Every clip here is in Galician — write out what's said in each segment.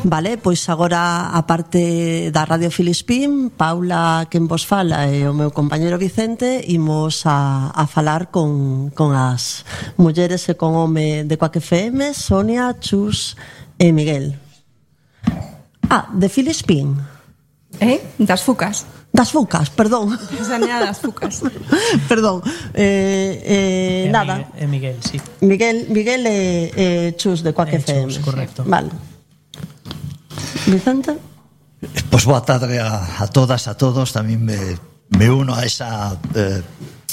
Vale, pois agora a parte da Radio Filispín, Paula, quen vos fala, e o meu compañeiro Vicente, imos a falar con as mulleres e con home de Quack FM, Sonia, Chus e Miguel. De Filispín. Das Fucas. Das Fucas, perdón. Sanidad das Fucas. Perdón. Nada. Miguel, sí. Miguel e Chus de Quack FM. Chus, correcto. Vale. Vicente? Pois boa tarde a todas, a todos. Tamén me uno a esa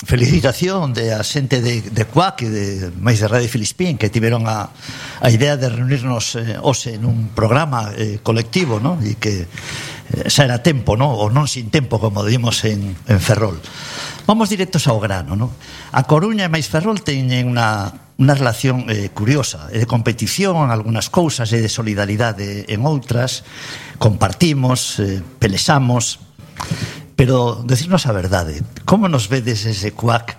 felicitación de a xente de Quack e de máis de Radio Filispín, que tiveron a idea de reunirnos hoxe nun programa colectivo, non? E que xa era tempo, non? Ou non sin tempo, como dimos en Ferrol. Vamos directos ao grano, non? A Coruña e máis Ferrol teñen unha relación curiosa, de competición en algunhas cousas e de solidaridade en outras. Compartimos, pelexamos, pero decirnos a verdade, como nos vedes desde Quack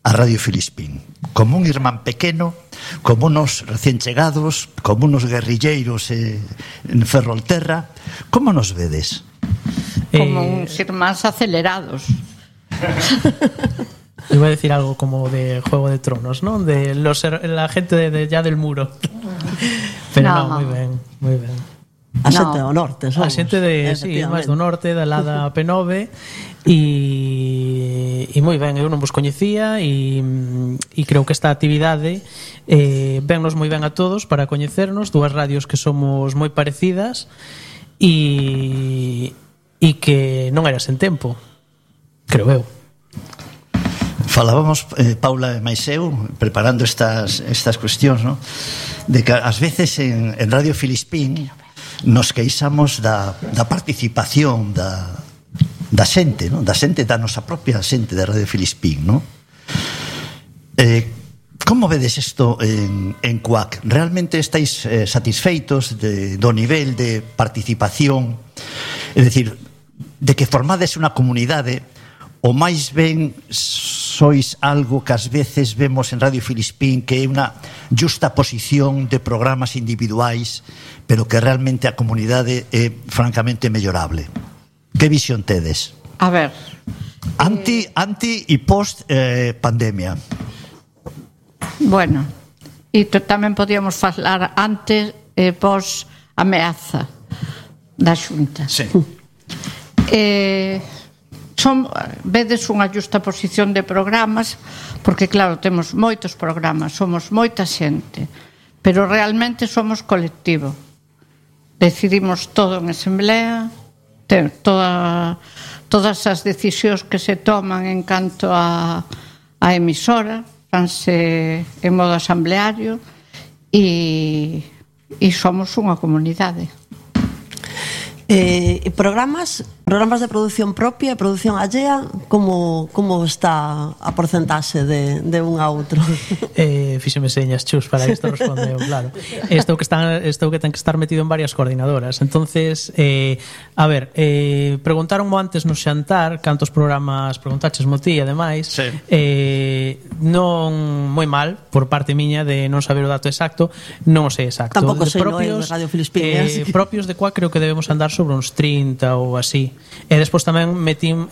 a Radio Filispín? Como un irmán pequeno, como unos recién chegados, como unos guerrilleiros en Ferrolterra? Como nos vedes? Como uns irmáns acelerados. Iba a decir algo como de Juego de Tronos, ¿no? De la gente de ya del muro. Pero no, muy ben, muy ben. A xente do norte, somos. A xente de, sí, máis do norte, da lada P9. E moi ben, eu non vos coñecía e creo que esta actividade vennos moi ben a todos para coñecernos, dúas radios que somos moi parecidas e que non era sen tempo, creo eu. Falábamos, Paula e máis eu, preparando estas cuestións, ¿no? De que ás veces en Radio Filispín nos queixamos da participación da xente, ¿no? Da xente, da nosa propia xente de Radio Filispín, ¿no? Como vedes isto en Quack? Realmente estáis satisfeitos do nivel de participación? É dicir, de que formades unha comunidade, ou máis ben sois algo que ás veces vemos en Radio Filispín, que é unha justa posición de programas individuais, pero que realmente a comunidade é francamente mellorable? Que visión tedes? A ver, Anti e post pandemia. Bueno, e tamén podíamos falar antes e post ameaza da Xunta. Sí. Vedes unha justa posición de programas, porque claro, temos moitos programas, somos moita xente, pero realmente somos colectivo. Decidimos todo en asamblea, todas as decisións que se toman en canto a emisora fanse en modo asambleario e somos unha comunidade. Programas de produción propia, produción allea, como está a porcentaxe de un a outro? Fíxeme señas, Chus, para isto respondeu, claro. Isto que ten que estar metido en varias coordinadoras. Entonces, a ver, preguntaronmo antes no xantar cantos programas preguntaches mo ti, ademais. Sí. Non moi mal, por parte miña, de non saber o dato exacto. Non o sei exacto. Tampouco sei, no é de Radio Filispín. Propios de Quack creo que debemos andar sobre uns 30 ou así. E despois tamén metín